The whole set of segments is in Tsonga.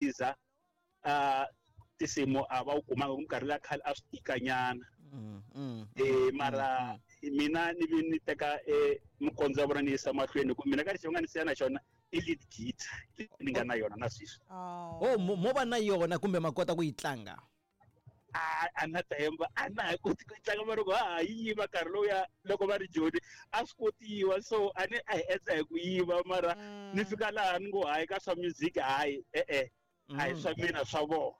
Iza a tinsimu a va wu kumanga ku minkarhi liya khale a swi tika nyana mara mina ni vi ni teka mikondzo ya vona ni yisa mahlweni hi ku mina ka lexi va nga ni siya na xona i lead guitar leyi ni nga na yona na sweswi. Oh mo va na yona kumbe ma kota ku yi tlanga? A a na ta hemba a na ha koti ku tlanga mara loko ha ha yi yiva nkarhi lowuya loko va ri joni a swi kotiwa so a ni a hi endla hi ku yiva mara ni fika laha ni ngo hayi ka swa music hayi e-e a hi swa mina swa vona.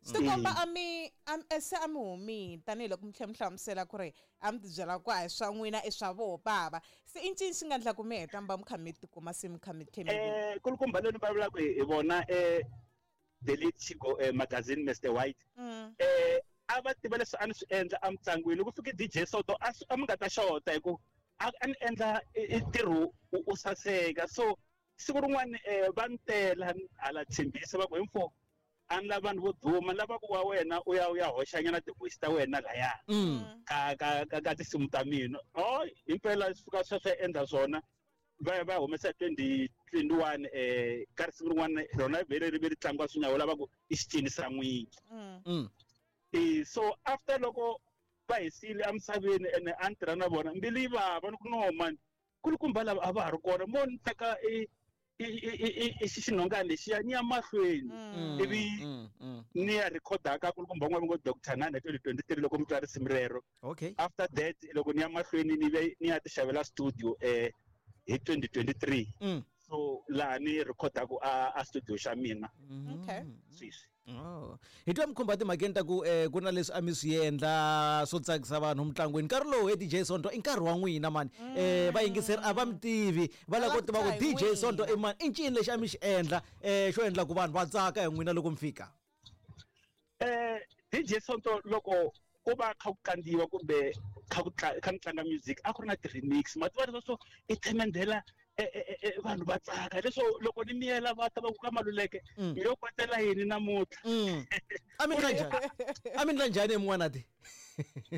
Swi tikomba a mi se a mi humile tanihiloko mi tlhela mi hlamusela ku ri a mi tibyela ku a hi swa n'wina i swa voho bava se i ncini xi nga endla ku mi heta mi va mi kha mi tikuma se mi kha mi tlhe mi Kulukumba loyi ni vulavulaka hi vona The Lead Chico Magazine Mister White a va tiva leswi a ni swi endla emitlangwini loko fike DJ Soto a a mi nga ta xota hi ku a ni endla ntirho u saseka so siku rin'wana va ni tela hala Tshembisa va ku he mfo a ni lava vanhu vo duma ni lava ku wa wena u ya u ya hoxanyana ti-voice ta wena laya ka ka ka ka tinsimu ta mina oh himpela swi fika sweswo endla swona va ya va ya humesa 2021 ka risimu rin'wana rona vhele ri ve ri tlangiwa swi nyawula va ku i xicinisa n'wingi so after loko va hi siyile emisaveni ene a ni tirha na vona mbilu yi vava ni ku no mani kulukumba lava a va ha ri kona mo ni teka i i xinhongani lexiya ni ya mahlweni ivi ni ya rhikhoda ka kulukumba un'wana va ngo Doctor Nana 2023 loko mi twa risimu rero okay after that loko ni ya mahlweni ni ve ni ya ti xavela studio hi 2023 so laha ni rhikhodaku a studio xa mina okay sweswi. Oh. Hi twa mi khumba timhakeni ta ku eh, ku na leswi a mi swi endla swo tsakisa vanhu mintlangwini nkarhi lowu he DJ Sonto i nkarhi wa n'wina mani eh, vayingiseri a va mi tivi va lava ku tiva ku DJ Sonto i mani i ncini lexi a mi xi endla eh, xo endla ku vanhu va tsaka hi n'wina loko mi fika. DJ Sonto loko ku va kha ku kandziwa kumbe kha ku kha ni tlanga music a ku ri na ti-remix ma tiva leswo swo i themendhela vanhu va tsaka leswo loko ni miyela va ta va ku ka Maluleke mi yo kwatela yini namuntlha. A mi ndla njhani a mi ndla njhani emun'wanati?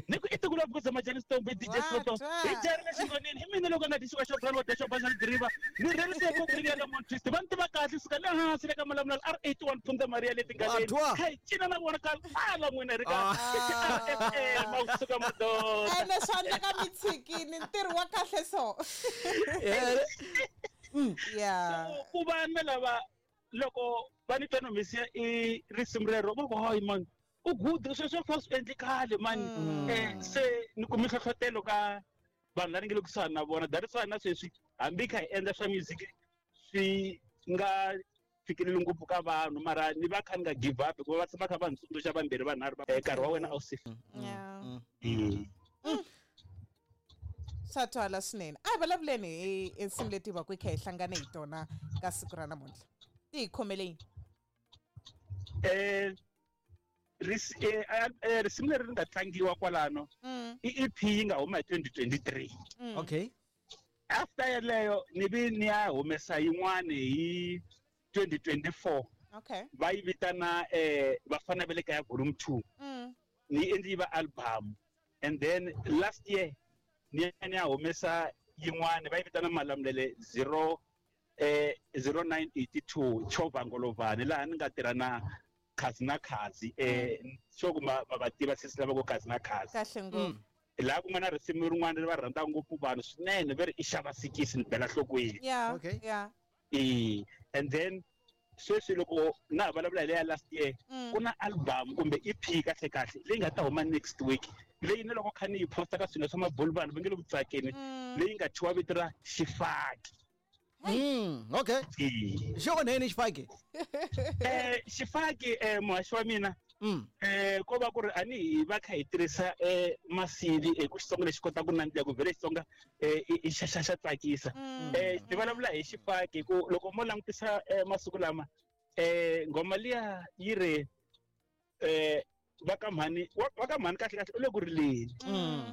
Ni ku i tiko la Bukuza Majani Stomp DJ Soto hi jarile xingonini i mina loko nga dyi xikwa xa brown wa dya xo basa diriva ni rherise ku ri ya Mount Twist va ni tiva kahle suka le hansi le ka Malamulele R81 Phunza Maria le tingaleni kha hi cina na vona ka ala n'wina ri ka RFM ma kusuka madoda ene swa endleka mi tshikini ntirho wa kahle so yeah ku va na lava loko va ni twa ni humesiya i risimu rero va ku hayi man u good sweswo fa swi endli khale mani se ni kume nhlohlotelo ka vanhu lava ni nga le kusuhani na vona that is why na sweswi hambi kha hi endla swa music swi nga fikeleli ngopfu ka vanhu mara ni va kha ni nga give up hikuva va tshama kha va ni tsundzuxa vambirhi vanharhu nkarhi wa wena a wu se Swa twala swinene a hi vulavuleni hi nsimu leti va ku hi kha hi hlangane hi tona ka siku ra namuntlha ti hi khomele yini? Risimu leri ri nga tlangiwa kwalano i EP yi nga huma hi 2023. Okay. After yeleyo ni vi ni ya humesa yin'wani hi 2024. Okay. Va yi vitana Vafana va le kaya volume 2. Ni endli yi va album and then last year ni ya ni ya humesa yin'wani va yi vitana Malamulele 0 0982 Chova Ngolovani laha ni nga tirha na Khazi na Khazi sure ku ma va tiva sesi lava ku Khazi na Khazi kahle ngopfu laha ku nga na risimu rin'wana ri va rhandzaka ngopfu vanhu swinene ve ri i xava sikisi ni bela nhlokweni. Yeah, Okay. yeah. And then sweswi loko na ha vulavula hi leya last year ku na album kumbe EP kahle kahle leyi nga ta huma next week leyi ni loko kha ni yi posta ka swilo swa mabulu vanhu va nge le ku tsakeni leyi nga thyiwa vito ra Xifaki. Okay. Xi onheni xifaki? Xifaki muhaxi wa mina ko va ku ri a ni hi va kha hi tirhisa masili ku Xitsonga lexi kotaka ku nandziha ku vhele Xitsonga i xa xa xa tsakisa. Ni vulavula hi xifaki ku loko mo langutisa masiku lama nghoma liya yi ri va ka mhani va ka mhani kahle kahle u le ku rileni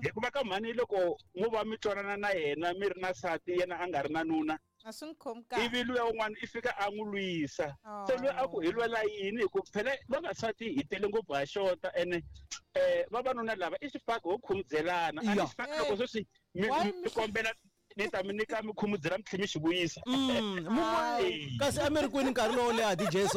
hikuva ka mhani loko mo va mi twanana na yena mi ri na nsati yena a nga ri na nuna a swi n'wi khomi kahle ivi luya un'wana i fika a n'wi lwisa se loyi a ku hi lwela yini hi ku phela vavasati hi tele ngopfu ha xota ene vavanuna lava i xifaki ho khumudzelana a ni xifaki loko sweswi mi kombela ni ta mi nyika mi khumudzela mi tlhela mi xi vuyisa Kasi a mi ri kwini nkarhi lowo leha DJ so?